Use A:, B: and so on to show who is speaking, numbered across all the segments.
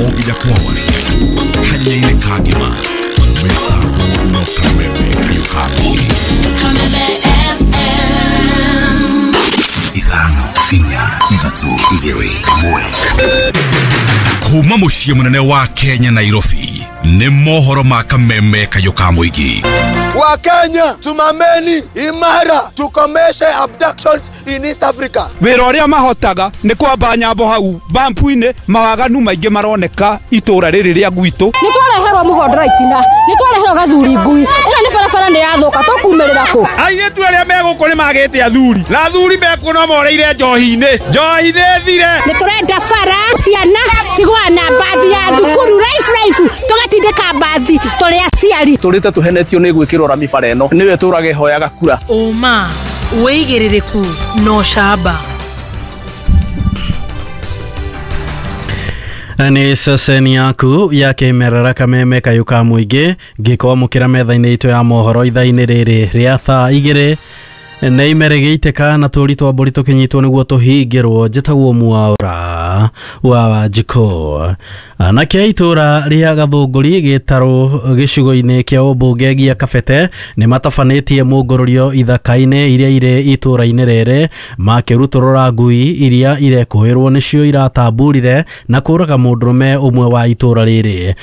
A: O nginya kwa waria kanya-inĩ ka ngima mĩtambo no Kameme kayũ ka mũingĩ.
B: Kameme FM.
A: 5 4 3 2 1. Kuma mũciĩ mũnene wa Kenya Nairobi nĩ mohoro ma Kameme kayũ ka mũingĩ.
C: Wa Kenya tumameni imara tukomeshe abductions in East Africa.
D: Wĩra ũrĩa mahotaga nĩ kwamba nyambo hau bampu-inĩ, mawaganu maingĩ maroneka itũra rĩrĩ rĩa gwitũ.
E: Nĩ twareherwo mũhondora itina, nĩ twareherwo gathuri ngui, ĩno nĩ barabara nĩ yathũka, tũkumĩrĩra kũ?
F: Airĩtu arĩa me gũkũ nĩ magĩte athuri, na athuri mekuo no moreire njohi-inĩ, njohi nĩ thire.
G: Nĩ tũrenda bara, ciana cigũa na mbathi ya thukuru raifu raifu, tũgatindĩka mbathi tũrĩ aciari.
H: Tũrĩte tũhenetio nĩ gwĩkĩrwo rami bara ĩno, nĩwe tũrage hoyaga kura.
B: Ũma, wĩigĩrĩrĩku na ũcamba.
I: Nĩ ceceni yaku ya kĩmerera Kameme kayũ ka mũingĩ ngĩkwamũkĩra metha-inĩ itũ ya mohoro ithaa-inĩ rĩrĩ rĩa thaa 2 nĩ imere gĩitĩka na tũri twa mbũri tũkĩnyitwo nĩguo tũhingĩrwo. Njĩtagwo Mwaũra wa Wanjikũ. Anake itũra rĩa Gathũngũri gĩtarũ gĩcigo-inĩ kĩa ũmbunge gĩa Kabete nĩ matabanĩtie mũngũrũrio ithaka-inĩ iria irĩ itũra-inĩ rĩrĩ makĩrutũrũra ngui iria irekũĩrwo nĩcio iratamburire na kũraga mũndũrũme ũmwe wa itũra rĩrĩ.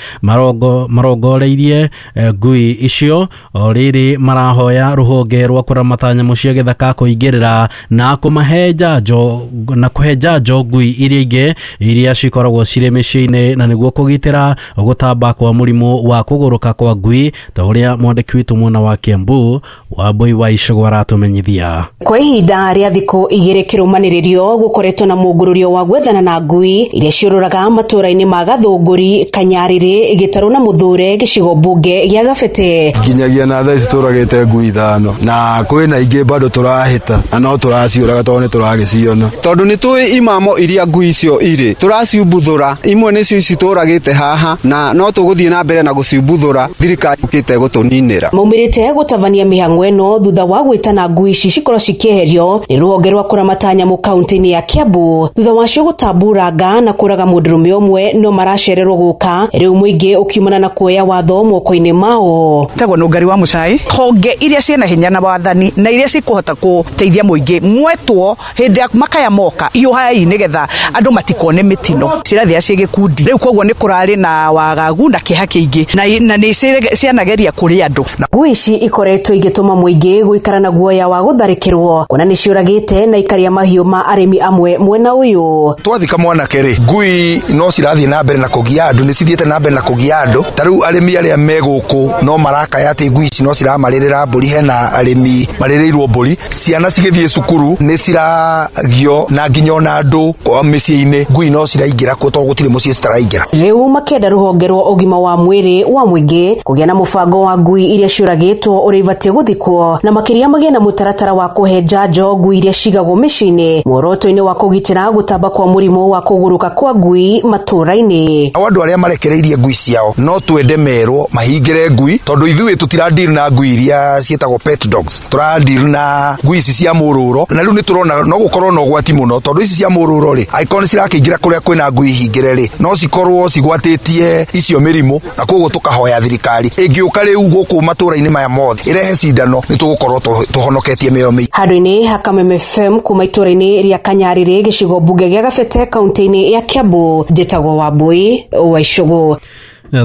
I: Marongoreirie ngui icio o rĩrĩ marahoya rũhonge rwa kũramata nyamũ cia gĩthaka kũingĩrĩra na kũmahe njanjo na kũhe njanjo ngui iria ingĩ iria cikoragwo cirĩ mĩciĩ-inĩ na nĩguo kũgitĩra gũtamba kwa mũrimũ wa kũgũrũka kwa ngui ta ũrĩa mwandĩki witũ mwena wa Kiambu Wambui wa Icũgũ aratũmenyithia.
J: Kwa ihinda rĩa thikũ 2 kĩrũmanĩrĩrio gũkoretwo na mũngũrũrio wa gwethana na ngui iria ciũrũraga matũra-inĩ ma Gathũngũri, Kanyarĩrĩ, Gĩtarũ na Mũthure gĩcigo mbunge gĩa Gabete.
K: Nginyagia na thaa ici tũragĩte ngui 5 na kwĩna ingĩ bado tũrahĩta na no tũraciũraga tondũ nĩ tũragĩciona.
L: Tondũ nĩ tũĩ imamo iria ngui icio irĩ tũraciumbuthũra, imwe nĩcio ici tũragĩte haha na no tũgũthiĩ na mbere na gũciumbuthũra, thirikari yũkĩte gũtũninĩra.
J: Maumĩrĩte gũtabania mĩhang'o ĩno thutha wa gwĩtana ngui ici cikorwo cikĩeherio nĩ rũhonge rwa kũramata nyamũ kaunti-inĩ ya Kiambu thutha wacio gũtamburanga na kũraga mũndũrũme ũmwe no maracererwo gũka rĩu mũingĩ ũkiumana na kuoya watho moko-inĩ mao.
M: Tagwo Nũngari wa Mũcai, honge iria ciĩna hinya na wathani na iria cikũhota gũteithia mũingĩ mwetwo hĩndĩ ya makaya moka hiũhai nĩgetha andũ matikone mĩtino cirathia ciĩ gĩkundi. Rĩu koguo nĩ kũrarĩ na wagagu na kĩeha kĩingĩ na nĩ cianageria kũrĩ andũ.
J: Ngui ici ikoretwo igĩtũma mũingĩ gũikara na guoya wa gũtharĩkĩrwo kuona nĩ ciũragĩte na ikaria mahiũ ma arĩmi amwe mwena ũyũ.
N: Twathika mwanake rĩ, ngui no cirathiĩ na mbere na kũgia andũ, nĩ cithiĩte na mbere na kũgia andũ. Ta rĩu arĩmi arĩa me gũkũ no marakaya atĩ ngui ici no ciramarĩrĩra mbũri, hena arĩmi marĩrĩirwo mbũri, ciana cigĩthiĩ cukuru nĩ ciragio na nginya ona andũ mĩciĩ-inĩ ngui no ciraingĩra kuo tondũ gũtirĩ mũciĩ citaraingĩra.
J: Rĩu makĩenda rũhonge rwa ũgima wa mwĩrĩ wa mũingĩ kũgĩa na mũbango wa ngui iria ciũragĩtwo ũrĩa ibatiĩ gũthikwo na makĩria magĩe na mũtaratara wa kũhe njanjo ngui iria cigagwo mĩciĩ-inĩ muoroto-inĩ wa kũgitĩra gũtamba kwa mũrimũ wa kũgũrũka kwa ngui matũra-inĩ.
N: Nao andũ arĩa marekereirie ngui ciao no twende merwo mahingĩre ngui tondũ ithuĩ tũtiradeal na ngui iria ciĩtagwo pet dogs, tũradeal na ngui ici cia mũrũro na rĩu nĩ tũrona no gũkorwo na ũgwati mũno tondũ ici cia mũrũro rĩ angĩkorwo nĩ cirakĩingĩra kũrĩa kwĩna ngui hingĩre rĩ no cikorwo cigwatĩtie icio mĩrimũ na koguo tũkahoya thirikari ĩngĩũka rĩu gũkũ matũra-inĩ maya mothe ĩrehe cindano nĩ tũgũkorwo tũhonoketie mĩoyo mĩingĩ.
J: Handũ-inĩ ha Kameme FM kuma itũra-inĩ rĩa Kanyarĩrĩ gĩcigo mbunge gĩa Gabete kaunti-inĩ ya Kiambu, njĩtagwo Wambui wa Icũgũ.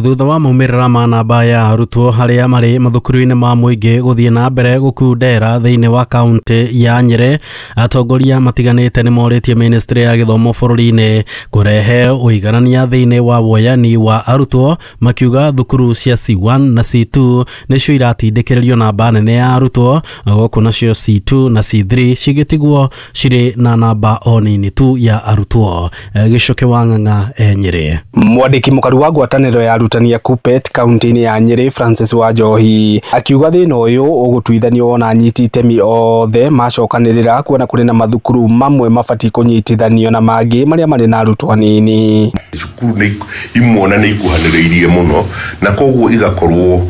I: Thutha wa maumĩrĩra ma namba ya arutwo harĩa marĩ mathukuru-inĩ ma mũingĩ gũthiĩ na mbere gũkundera thĩinĩ wa kaunti ya Nyĩrĩ, atongoria matiganĩte nĩ morĩtie ministry ya gĩthomo bũrũri-inĩ kũrehe ũiganania thĩinĩ wa woyani wa arutwo, makiuga thukuru cia C1 na C2 nĩcio iratindĩkĩrĩrio namba nene ya arutwo, gũkũ nacio C2 na C3 cigĩtigwo cirĩ na namba o nini tu ya arutwo. Gĩcoke wa Ng'ang'a e Nyĩrĩ.
O: Mwandĩki mũkaru wa ngwatanĩro ya arutani a KUPPET kaunti-inĩ ya Nyĩrĩ Francis Wanjohi akiuga thĩna ũyũ ũgũtuithanio wona anyiti itemi othe macokanĩrĩra kuona kũrĩ na mathukuru mamwe mabatiĩ kũnyitithanio na mangĩ marĩa marĩ na arutwo anini.
P: Cukuru nĩ imwe na nĩ ikuhanĩrĩirie mũno na koguo igakorwo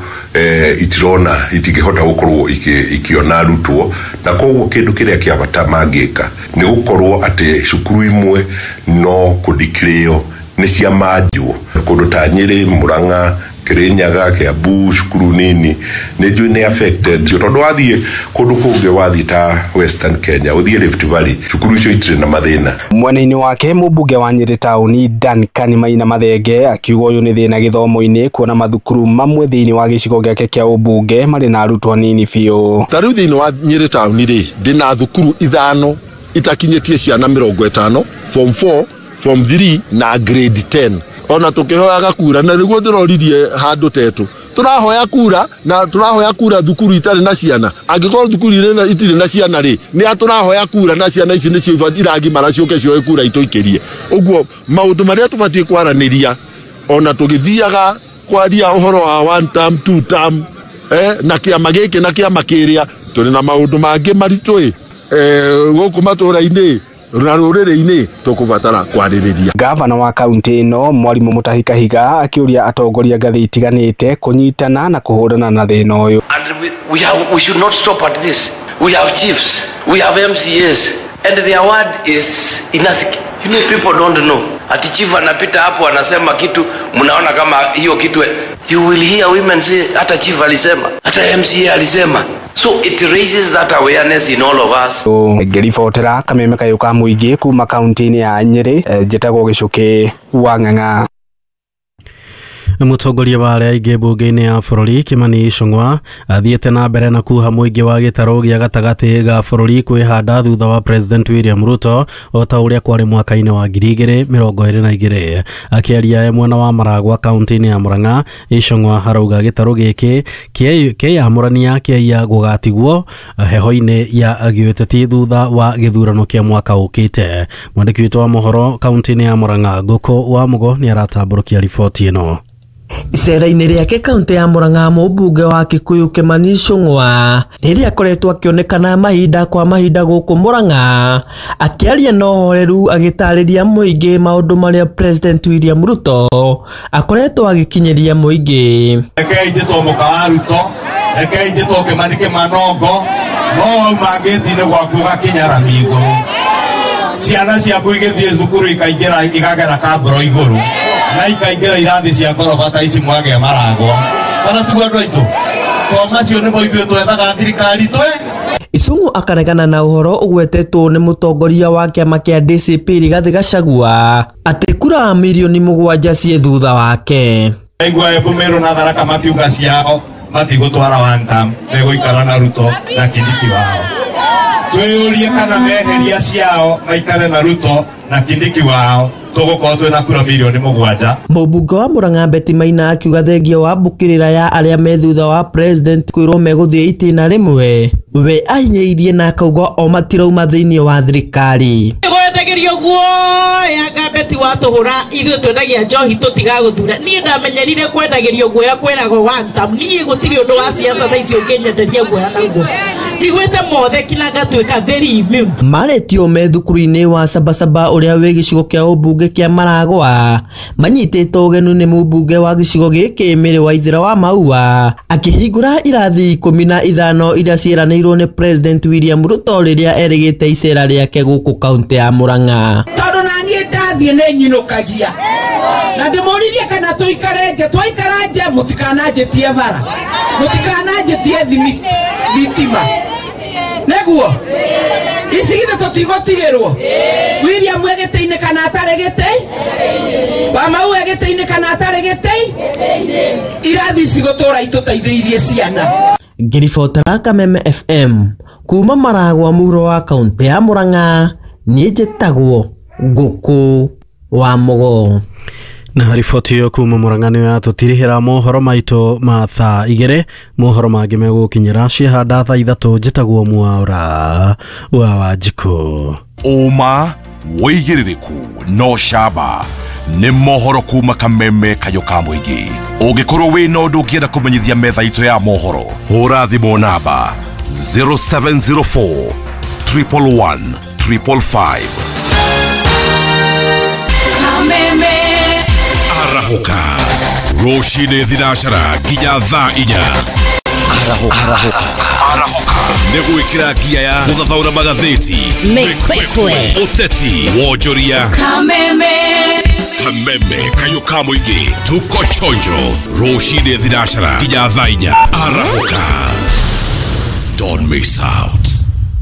P: itirona itingĩhota gũkorwo ikiona arutwo, na koguo kĩndũ kĩrĩa kĩa bata mangĩka nĩ gũkorwo atĩ cukuru imwe no kũdeclare Nĩ ciamanjwo kũndũ ta Nyĩrĩ, Murang'a, Kirinyaga, Kiambu, cukuru nini nĩ njũĩ nĩ affected tondũ wathiĩ kũndũ kũngĩ, wathiĩ ta Western Kenya, ũthiĩ Rift Valley, cukuru icio itirĩ na mathĩna.
O: Mwena-inĩ wake, mũmbunge wa Nyĩrĩ taũni Duncan Maina Mathenge akiuga ũyũ nĩ thĩna gĩthomo-inĩ, kuona mathukuru mamwe thĩinĩ wa gĩcigo gĩake kĩa ũmbunge marĩ na arutwo anini biũ.
Q: Ta rĩu thĩinĩ wa Nyĩrĩ taũni rĩ, ndĩna thukuru 5 itakinyĩtie ciana 50, form 4, form 3 na grade 10. Ona tukihoyaga kura na niguo ndĩroririe handũ tetũ, tũrahoya kura na tũrahoya kura thukuru itarĩ na ciana. Angĩkorwo thukuru itirĩ na ciana rĩ, nĩ a tũrahoya kura na ciana ici nĩcio iragimara ciũke cioe kura itũikĩrie. Ũguo maũndũ marĩa tũbatiĩ kwaranĩria ona tũgĩthiaga kwaria ũhoro wa one term, two term, na kĩama gĩkĩ na kĩama kĩrĩa, tũrĩ na maũndũ mangĩ maritũ gũkũ matũra-inĩ na rũrĩrĩ-inĩ tũkũbatara kwarĩrĩria.
O: Gavana wa kaunti ĩno Mwarimũ Mutahi Kahiga akĩũria atongoria ngathĩ itiganĩte kũnyitana na kũhũrana na thĩna ũyũ.
R: And we should not stop at this. We have chiefs, we have MCAs, and their word is inasiki. You know, people don't know. Ati chief anapita hapo anasema kitu, mnaona kama hiyo kitu. You will hear women say, hata chief alisema, hata MCA alisema. So it raises that awareness in all of us.
O: Ngĩribotera kameme kayũ ka mũingĩ kuma kaunti-inĩ ya Nyĩrĩ, njĩtagwo Gĩcũkĩ wa Ng'ang'a.
I: Mũtongoria wa arĩa aingĩ mbunge-inĩ ya bũrũri Kimani Ichung'wa athiĩte na mbere na kuha mũingĩ wa gĩtarũ gĩa gatagatĩ ga bũrũri kwĩhanda thutha wa President William Ruto o ta ũrĩa kwarĩ mwaka-inĩ wa 2022. Akĩaria e mwena wa Maragwa kaunti-inĩ ya Murang'a, Ichung'wa arauga gĩtarũ gĩkĩ kĩyamũrania kĩaiya gũgatigwo heho-inĩ ya gĩũteti thutha wa gĩthurano kĩa mwaka ũkĩte. Mwandĩki witũ wa mohoro kaunti-inĩ ya Murang'a Ngũkũ wa Mũgo nĩaratambũrũkia riboti ĩno.
S: Icera-inĩ rĩake kaunti ya Murang'a, mũmbunge wa Kikuyu Kimani Ichung'wa rĩrĩa akoretwo akĩonekana mahinda kwa mahinda gũkũ Murang'a, akĩaria na ũhoreru agĩtarĩria mũingĩ maũndũ marĩa President William Ruto akoretwo agĩkinyĩria mũingĩ.
T: Rekei njĩtwo mũka wa Ruto, rekei njĩtwo Kimani Kĩmanongo, no wauma ngĩti-inĩ gwaku ũgakinya rami igũrũ, ciana ciaku igĩthiĩ thukuru ikaingĩra ikagera kambũro igũrũ na ikaingĩra irathi cia ngoroba ta ici mwagĩa Maragwa. Kana tiguo andũ aitũ? To macio nĩmo ithuĩ twethaga thirikari twe.
S: Ichung'wa akaregana na ũhoro ũgwetetwo nĩ mũtongoria wa kĩama kĩa DCP Rigathĩ Gachagua atĩ kura mirioni 7 ciĩ thutha wake.
T: Aigua Embu, Meru na Tharaka makiuga ciao matigũtwara one term, megũikara na Ruto na Kindiki wao. Twĩyũrie kana meheria ciao maikare na Ruto na Kindiki wao, tũgũkorwo twĩna kura mirioni 7.
S: Mũmbunge wa Murang'a Betty Maina akiuga thengia wa mbũkĩrĩra ya arĩa me thutha wa president kwĩrwo megũthiĩ itĩna rĩmwe, we ahinyĩrĩirie na akauga o matirauma thĩinĩ wa thirikari.
U: Gwendagĩrio guoya nga Betty watũhũra, ithuĩ twendagia njohi tũtigagũthura. Niĩ ndamenyerire kwendagĩrio guoya kwĩragwo one term. Niĩ gũtirĩ ũndũ wa siasa thaa ici ũngĩnyenderia guoya naguo. Njiguĩte mothe kinya ngatuĩka very immune.
S: Marĩtio me thukuru-inĩ wa Sabasaba ũrĩa wĩ gĩcigo kĩa ũmbunge kĩa Maragwa, manyitĩtwo ũgeni nĩ mũmbunge wa gĩcigo gĩkĩ Mary Waithera wa Maua akĩhingũra irathi 15 iria ciĩranĩirwo nĩ President William Ruto rĩrĩa erĩgĩte icera rĩake gũkũ kaunti ya Murang'a.
U: Tondũ naniĩ ndathiĩ nĩ nyinũkagia na ndĩmũririe kana tũikare nja, twaikara nja mũtikananjĩtie bara, mũtikananjĩtie thitima, nĩguo ici githĩ tũtigũtigĩrwo. William e gĩtĩ-inĩ kana atarĩ gĩtĩ, Wamau e gĩtĩ-inĩ kana atarĩ gĩtĩ, irathi ici gũtũra itũteithĩirie ciana.
S: Ngĩribotera Kameme FM kuma Maragwa mũhuro wa kaunti ya Murang'a, niĩ njĩtagwo Ngũkũ wa Mũgo.
I: Na riboti ĩyo kuma Murang'a nĩyo yatũtirihĩra mohoro maitũ ma thaa 2. Mohoro mangĩ megũkinyĩra ciahanda thaa 3. Njĩtagwo Mwaura wa Wanjikũ.
A: Ũma wĩigĩrĩrĩku no camba nĩ mohoro kuma kameme kayũ ka mũingĩ. Ũngĩkorwo wĩna ũndũ ũngĩenda kũmenyithia metha itũ ya mohoro, hũra thimũ namba 0704 111 555.
B: Kameme
A: Arahũka rũcinĩ 4 nginya thaa 4. Arahũka nĩ gwĩkĩra ngia ya gũthathaũra magathĩti,
B: Mĩkwekwe,
A: ũteti, wonjoria.
B: Kameme.
A: Kameme kayũ ka mũingĩ, tuko chonjo rũcinĩ thinacara nginya thaa 4 arahũka. Don't miss out.